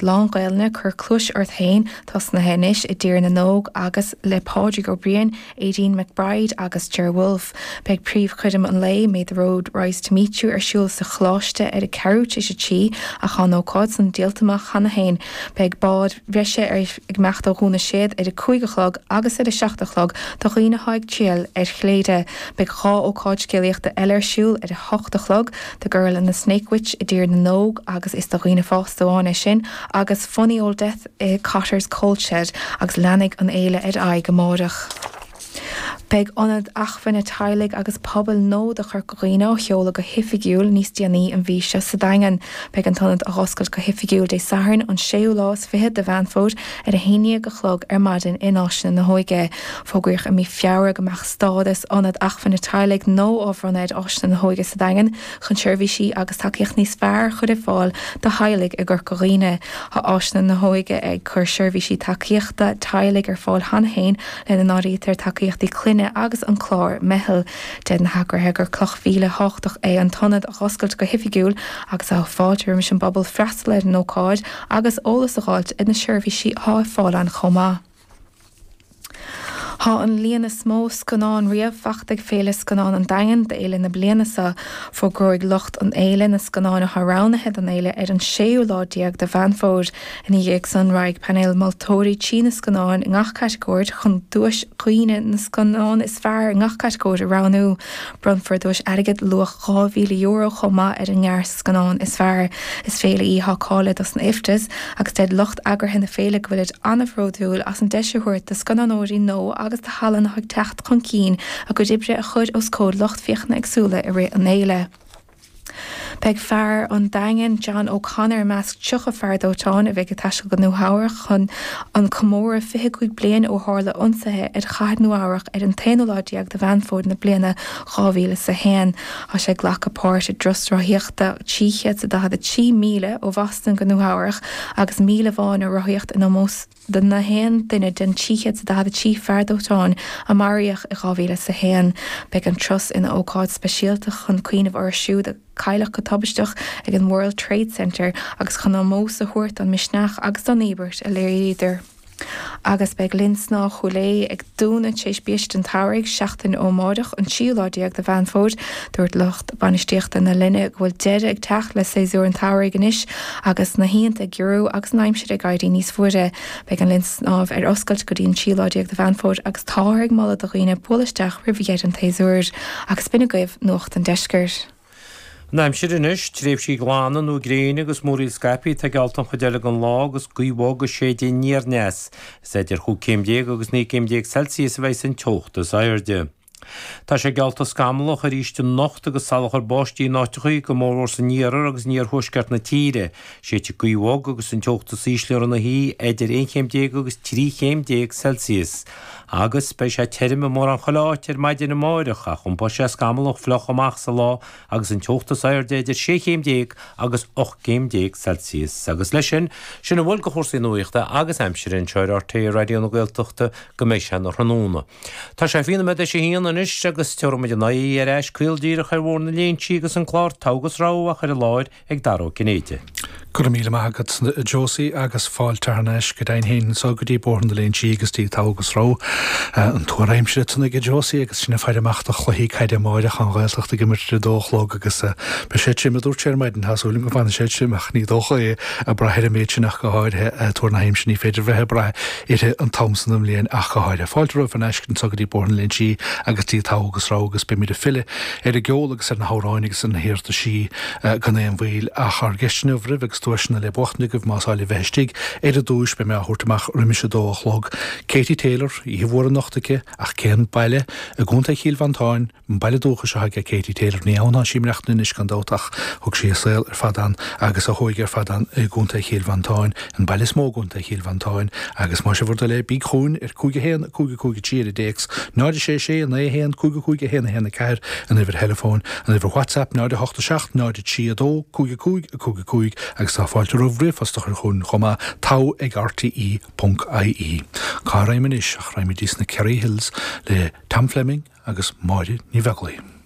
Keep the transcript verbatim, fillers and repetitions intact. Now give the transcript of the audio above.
lán-Ghaelainne Cuir Cluais Ort Féin tosnaithe anois i dTír na nÓg agus le Pádraig Ó Briain, Aideen McBride agus Ger Wolfe. Beidh príomhchoirm an lae May the Road Rise to Meet You ar siúl sa Choláiste ar a ceathrú tar éis a trí ach tá an ócáid san díolta amach cheana féin. Beidh bád bhreise ar ag imeacht ó Dhún na Séad ar a cúig a chlog agus ar a seacht a chlog do dhaoine atá ag triall ar Chléire. Beidh dhá ócáid scéalaíochta eile ar siúl ar a hocht a chlog, The Girl and the Snake Witch i dTír na nÓg agus is do dhaoine fásta amháin é sin, agus Funny Old Death i Cotter's Coal Shed agus leanfaidh an fhéile ar aghaidh amárach. Beidh Ionad Acmhainne Teaghlaigh agus Pobail nua do Chorca Dhuibhne á sheoladh go hoifigiúil níos déanaí an mhí seo sa Daingean. Beidh an t-ionad á oscailt go hoifigiúil Dé Sathairn an séú lá is fiche de Mheán Fómhair ar a haon déag a chlog ar maidin in Áiseanna na hÓige. Fógraíodh i mí Feabhra go mbeadh stádas Ionad Acmhainne Teaghlaigh nua á bhronnadh ar Áiseanna na hÓige sa Daingean chun seirbhísí agus tacaíocht níos fearr a chur ar fáil do theaghlaigh i gCorca Dhuibhne. Tá Áiseanna na hÓige ag cur seirbhísí tacaíochta teaghlaigh ar fáil cheana féin lena n-áirítear tacaíochtaí clainne agus an clár Meitheal. Deir na heagraithe gur cloch mhíle thábhachtach é an t-ionad a oscailt go hoifigiúil agus tá fáilte roimis an bpobal freastal ar an ócáid agus eolas a fháilt ar na seirbhísí atá ar fáil ann chomh maith. Tá an líon is mó scannán riamh faighte ag Féile Scannán an Daingin d'fhéile na bliana seo. Fógróidh lucht an fhéile na scannáin atá roghnaithe don fhéile ar an séú lá déag de Mheán Fómhair. Ina dhiaidh san raghaidh painéal moltóirí trí na scannáin i ngach catagóir chun duais dhaoine na scannán is fearr i ngach catagóir a roghnú. Bronnfar duais airgid luach dhá mhíle euro chomh maith ar an ngearrscannán is fearr. Is féile í atá cáilithe dos na IFTAs agus deir lucht eagraithe na féile go bhfuilid an-bhródúil as an deis a thabhairt do scannánóirí nua agus do thallann atá ag teacht chun cinn a gcuid oibre a chur os comhair lucht féachana éagsúla i rith an fhéile. Beidh fear an Daingin John O'Connor i measc tríocha fear dóiteáin a bheidh ag taisteal go Nua Eabhrac chun an comóradh fiche cúig bliain ó tharla ionsaithe ar chathair Nua Eabhrac ar an t-aonú lá déag de Mheán Fómhair na bliana dhá mhíle is a haon. Tá sé ag glacadh páirt i dturas rothaíochta trí chéad is daichead a trí míle ó Bhoston go Nua Eabhrac agus míle amháin á rothaíocht in ómós do na haon duine den trí chéad is daichead a trí fear dóiteáin a maraíodh i dhá mhíle is a haon. Beidh an turas ina ócáid speisialta chun cuimhneamh orthu siúd a cailleadh go tubaisteach ag an World Trade Center agus chun ómós a thabhairt don misneach agus don íobairt a léiríodar. Agus beidh Linn Snámha Chúil Aodha ag dúnadh tar éis biaiste an tsamhraidh, seachtain ó amárach, an tríú lá déag de Mheán Fómhair. Dúirt lucht bainistíochta na linne go bhfuil deireadh ag teacht le séasúr an tsamhraidh anois agus na hoícheanta ag giorrú agus an aimsir ag éirí níos fuaire. Beidh an linn snámha ar oscailt go dtí an tríú lá déag de Mheán Fómhair agus táthar ag moladh do dhaoine bualadh isteach roimh dheireadh an tséasúir. Agus b'in agaibh Nuacht an Deiscirt. An aimsir anois, tréimhsí glana nó gréine agus múraíl scaipthe atá geallta an chuid eile den lá agus gaoth bhog ag séideadh aniar aneas. Is idir chúig céim déag agus naoi gcéim déag Celsius a bheidh an teocht is airde. Tá sé geallta scamallach arís anocht agus salachar báistí in áiteachaí, go mórmhór san iarthar agus in iarthuaisceart na tíre. Séidfidh gaoth bhog agus an teocht is ísle ar an oíche idir aon chéim déag agus trí chéim déag Celsius. Agus beidh sé tirim i mórán chuile áit ar maidin amáireach, ach iompóidh sé scamallach fliuch amach sa lá agus an teocht is airde idir sé chéim déag agus ocht gcéim déag Celsius. Agus leis sin, sin a bhfuil de chúrsaí nuachta agus aimsire anseo ar RTÉ Raidió na Gaeltachta go mbeidh sé ina thráthnóna. Tá sé fiche nóiméad théis a haon anois agus tabharfaidh muid an aghaidh ar ais caol díreach ar Bhóthar na Léinsí agus an clár Togha agus Rogha á chur i láthair ag Dara Ó Cinnéide. Go raibh míle maith agat a Josie agus fáilte thar n-ais go deimhin féin anseo go dtí Bóthar na Léinsí agus dtí Togha agus Rogha. An tuar aimsire ansan ag Josie agus sinn ag faire amach do chluichí caide amáireach an Ghaeltacht ag imirt ar a dó a chlog agus beidh sé tirim a dúirt sé ar maidin, tá súil agam go bhfanfaidh sé tirim ach ní dócha é ag brath ar an méid sin ach go háirithe tuar na haimsire ní féidir bheith ag brath uirthi an t-am san den bhliain ach go háirithe. Fáilte romhaibh thar n-ais anseo go dtí Bóthar na Léinsí agus dtí Togha agus Rogha agus beimid ag filleadh ar an gceol agus ar na hamhráin agus ar na hiarrataisí gan aon mhoill ach ár gceist inniu roimh agus duaiseanna le buachtaint agaibh más áil libh bheith istigh ar an duais beidh mé á thabhairt amach roimis a dó a chlog. Katie Taylor, oíche mhór anocht aici ach cén baile i gContae Chill Mhantáin, an baile dúchais atá aige Katie Taylor. Ní ann atá sí ag maireachtaint anois gan dabht ach thug sí a saol ar fad ann agus a hóige ar fad ann i gContae Chill Mhantáin, an baile is mó i gContae Chill Mhantáin agus más é bhur dtoil é bíg chugainn ar cúig a haon cúig a cúig a trí ar an dtéacs, náid a sé sé naoi a haon cúig a cúig a haon a haon a ceathair an uimhir theileafóin, an uimhir WhatsApp náid a hocht a seacht náid a trí a dó cúig a cúig a cúig a cúig agus tá fáilte roimh ríomhphost a chur chugainn chomh maith, togha ag rte ponc ie. Cá raghaim anois ach raghaimid sna Kerry Hills le Tom Fleming agus Máire Ní Bheaglaoich.